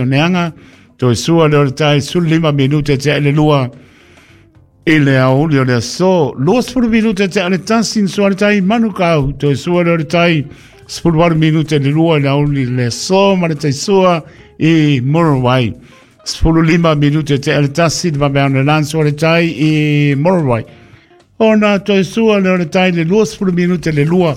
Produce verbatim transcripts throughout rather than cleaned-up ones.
Oneaga, toe sua lea o le tai sefululima minute tea i le lua i le aoauli o le aso. Luasefulu minute tea i le tasi na sua le tai Manukau, toe sua lea o le tai sefuluvalu minute i le lua i le aoauli o le aso ma le tai sua i Muriwai. Sefululima minute tea i le tasi le vaveao le na sua le tai i Muriwai. Ona toe sua lea o le tai le luasefulu minute le lua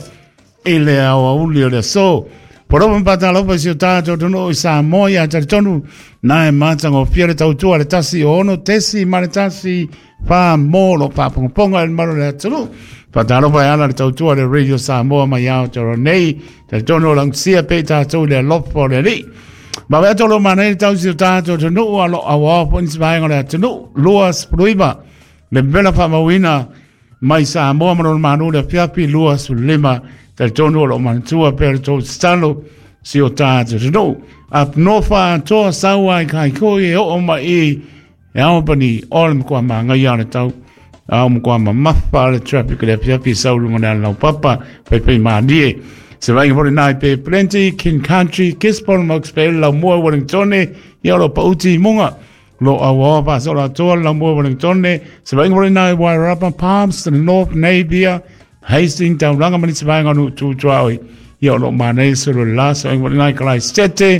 i le aoauli o le aso. Poropa patalopa si o tātou atunuu i Samoa ia talitonu na e matagofie le tautua le tasi o ono tesi ma le tasi wha mō lo pāpongaponga e le maro le atunuu. Patalopa e ala le tautua le Radio Samoa mai Aotearoa nei. Talitonu o lagusia pe i tātou le alofa o le Alii. Ma wea tolo manei le tau si o tātou atunuu a lo awao po nisi vaega o le atunuu. Lua sefuluiva le mela whaamauina mai Samoa ma lona manu le afiafi lua sefululima. Talitonu o lo manatua pea le tou tatalo si o tātou atunuu. Up north atoa sau ai kai koi e oo mai i e Albany o le matua māngaia o le tau. A o matua mamafa le traffic le afiafi sau lunga le ala laupapa paepae mālie. Se vaaiga foi lenā i Bay Plenty, King Country, Gisborne, Hawke's Bay, Laumua, Wellington, ia o lo pauti i muga. Lo auaoa faasola atoa le Laumua Wellington, se vaaiga foi lenā i Wairarapa, Palmerston North, Napier, Hastings, Tauranga ma nisi vaega o nuu tu tuaoi. Ia o lo manaia solo le la, se vaaiga foi lenā i Kalaisete,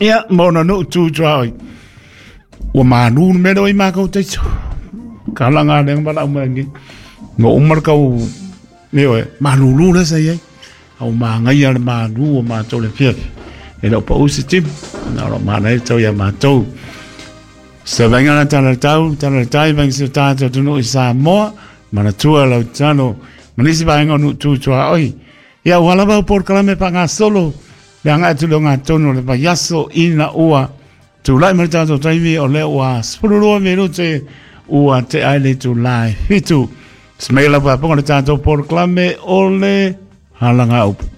ia ma ona nuu tu tuaoi. Ua manu le mea lea ua i mākou taiso. Ka langa lenga ma lau mai ngi. No umar kau neo e malulu le sa iai. Au māngaia le malu o mātou le fiafi. E leo pa usi tim. Na ro mānai tau ia mātou. Se vainga na tala tau, tala tai vainga se tātou tunu i Samoa. Manatua lau tano. Manisi vainga o nu tūtua oi. Ia ua lava o porokalame pa ngā solo. Le anga atu le ngā tono le vaiaso ina ua. Tūlai ma le tātou taimi o lea ua sefululua minute ua te ai le itulā e fitu. Smela paponga le tātou porokalame o le halanga upu.